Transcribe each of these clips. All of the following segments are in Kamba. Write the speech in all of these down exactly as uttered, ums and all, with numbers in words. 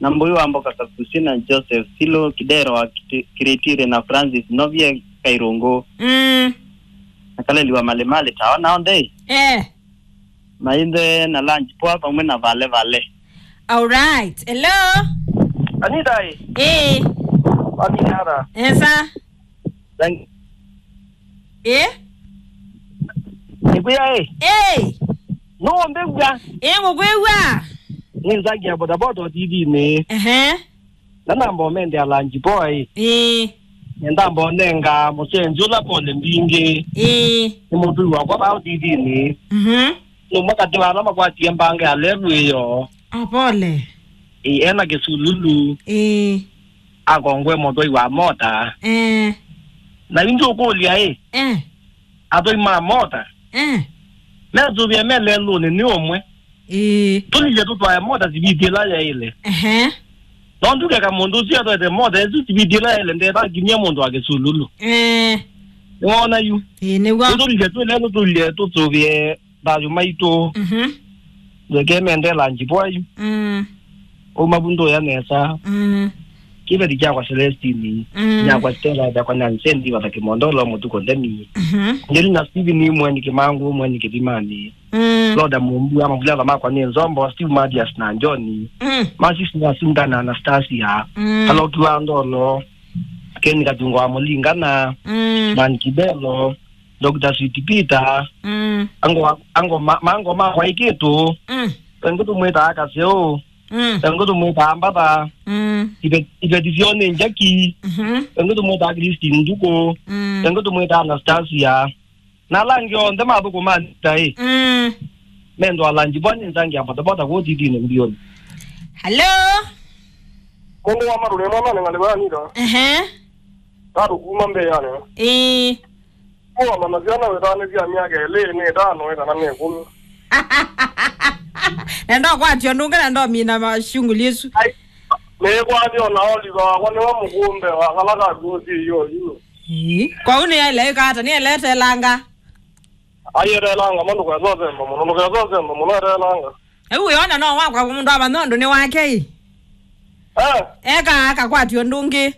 Na Mbui wa Mboka Kakusi na Joseph Silo Kidero wa Kiti-, Kiritiri na Francis Novie Kairungu. Mm. Na Kaleli wa Malimali Tawa nao nthei. Eh. Maithe na lunch poa pamwe na Vale Vale. All right. Hello. Anita, eh? Eh. Wathi nara? Esa. Thank Eh? Nikuya, eh? Eh. No, mbegwa. Eh, ngũkwĩw'a. Nĩ Nzangi ya bodaboda ũtithinĩ. Ehe. Na namba ũmendea lunch boy. Eh. Nenda mbonenga mũsenzi ũla pole mbingĩ. Eh. Nĩ mũtui wakwa vaa ũtithinĩ. Mhm. Nũmwe katĩ wa ala makwatie mbanga ya levu ĩyo. Ah, pole. Ĩ, ena kĩsululu. Ĩ. Akongwe mũthoi wa mota. Eh. Na yu ndũkũlya ĩ, Eh. athoi ma mota Eh. mesũvĩa me lelũnĩ nĩ ũmwe. Ĩ. Tũlilye tũtwae mota siviti ĩla yaĩle. Ehe. No ndukeka mũndũ ũsu atwaĩte mota ĩsu siviti ĩla yaĩle ndethakinyia mũndũ wa kĩsululu. Eh. Nĩwona yu? Ĩ, nĩw'o. Yu tũlilye twĩ lelũ tũlilye tũsũvĩe thayũ maitũ. Mhm. Ndweke mendela njivoa yu. Mm. Ũmavu ndũya nesa. Mm. Kĩveti kyakwa Celestini, Mm. nyakwa Stella, yakwa Nyansendi, Vatha Kĩmondolo, Mũtuko Ndemi. Mhm. Ngelina Steven, Mweni Kĩmangu, Mweni Kĩthimani. Mm. Loda Mumbu, amavulala makwa nĩ Nzombo, Steve Matias na John. Mm. Masis na Sinda na Anastasia. Mm. Kaloki wa Ndolo, Ken Katungo wa Mũlingana, Mm. Man Kibelo, Doctor Sweet Peter, Mm. ango, ango ma, mango ma kwaikĩtũ, Mm. engĩ tũmwĩtaa Kaseo, Mm. engĩ tũmwĩtaa Mbatha, Mm. ive-, iveti syoo nĩ Njaki, Mhm. engĩ tũmwĩtaa Christine Nduku, Mm. engĩ tũmwĩtaa Anastasia. Na ala angĩ onthe mathũkũma nita ĩ. Mm. Mendwa ala njivoa nĩ Nzangi ya bodaboda kũu tithinĩ mbioni. Hello? Mũndũ wa marũrĩ mwana nĩ ngalĩ vaya nita. Ehe. Tatũ kuma mbee yani. Ĩĩ. Kuona na syana wĩtanĩsya myaka ĩlĩ nĩ ĩtano ĩ kana nĩ ĩkũmi. Na ndokwatio ndũnge na ndomina mashunguli isu. Ai, nĩkwatio na Oliver wakwa nĩwe mũkũmbe wa kala kaguo syĩyo yu. Ĩĩ. Kwa ũ nĩ yaile ĩkata, nĩ elete langa. Ai, etelanga, ma ndũkesa ũsemba mũno, ndũkesa ũsemba mũno, etelanga. Ĩu wĩona no wakwa mũndũ amanya ũndũ nĩ wake ĩ. Eh. Eka akakwatio ndũngĩ.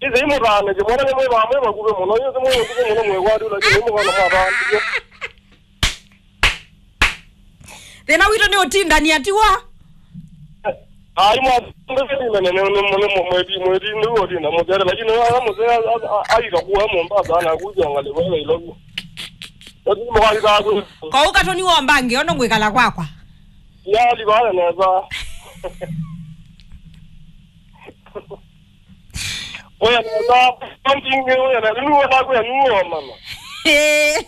Ĩthei mũthaanĩsye mwana nĩ mwĩvaa mwĩ vakuvĩ mũno, ĩthĩ mwĩ ũtukũ mũno mwĩkwatĩ, lakini mũkana mwathaanĩsye. Thĩna witũ nĩ ũtindania, tiwa? Ai, mwa-, nĩ, nĩ, nĩ, nĩ, nĩ, mwĩti, mwĩti, nĩ ũtinda mũsere, lakini wa, wa mũsere, a, a, aika kuwa Mombasa, na kuja ngalĩ wewe ilogu. Lakini mwali za ku- Kwa ũkatoni wa mbangi, ono ngwĩkala kwakwa. Ya, libale neza. Oya neza, something, oya neza, nĩ wona kwa nĩ wona mama. Eh.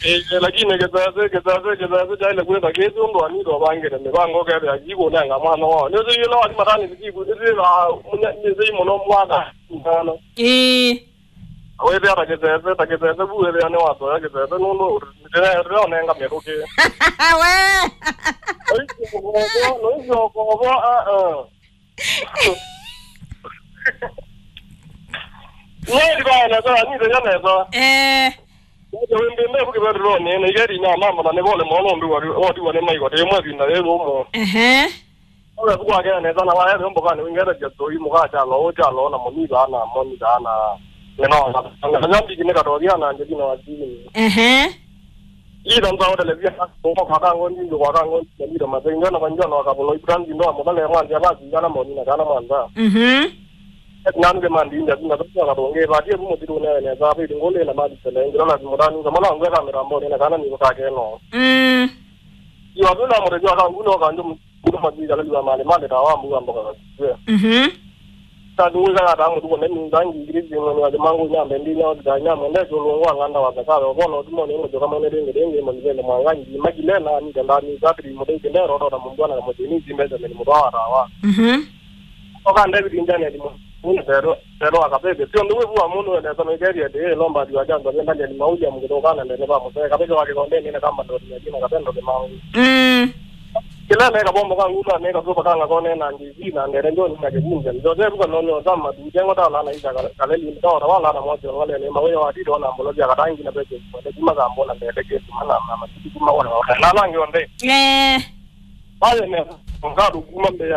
Eh, lakini kĩsese, kĩsese, kĩsese kyaile kwĩka kĩsi ũndũ anito vangĩte mĩvango kethĩa kikũnenga mwana wao. Nĩsĩ yĩla wathi matani siku, nĩsĩ, ah, nĩsĩ mũno mwaka mwana. Ĩĩ. Wĩthĩa ta kĩsese, ta kĩsese vu wĩthĩa nĩ watoya kĩsese nũndũ ndĩreonenga mĩtũkĩ. We. Noisyokovo, noisyokovo, ah, ah. Nĩndivaa nesa, nĩthenya nesa. Eh. Nĩthe wĩmbĩmbĩ vu kĩvethũlonĩ, na igeri na mama na nĩvole mono ũndũ watiwa nĩ maiko, tĩ mwe vinda yĩ lũmũ. Ehe. Owe vukwakea nesa na waya vyombo kana wingere vya toi muka chalo, o chalo na monitha na monitha na ngeno. Ngeno nyambi kine katoria na nje kina watini. Ehe. Ila mba hotelezia kwa kwa kango ndi kwa kango ndi kwa kango ndi na kwa njano kwa bulo ibrandi ndo mudale mwanzi ala zingana moni na kana mwanza. Mhm. Nanu ke mandi nja zinga kwa kwa tonge ba die mu tiru ne ne za bi ngole na mali sele ngira na mudani kama na ngwe kamera mbo ne kana ni kwa keno. Mm. Yo abuna mo kwa kangu no kanjo. Kuno mathika laliwa mali mali ta wa mbuga mboga kwa. Mhm. Ta duwe za ta mu tuko ne minga ngi ngiri zino ni wale mangu nyambe ndi nya da nya mwende jolo wa nganda wa zaka wa bono tumo ne mo joka mone denge denge mo ni le mwanga ngi magile na ni ganda ni za tri mo denge ne ro ro na mungu na mo ni zimbe za ni mo wa ta wa. Mhm. Oka David njane ni mo. Ni pero pero akabebe. Sio ndio wewe wa mundu ene sana gari ya de lomba diwa jango ni ndani ni mauja mgiro kana ndene ba mo. Kabebe wa kikonde ni kama ndo ni jina kabendo ni mau. Mm. Kĩla neka bombo ka nguma neka sopa kanga kone na ndizi na ndere ndo na kibunja. Ndo de buka no no zama tu jengo ta la na isa kale ni ndo wala na mojo wale ni mawe wa tito na mbolo ya katangi na peke. Kuma kambo na ndere ke kuma na mama kuma wala na langi onde. Eh. Pale ne ngado kuma mbe ya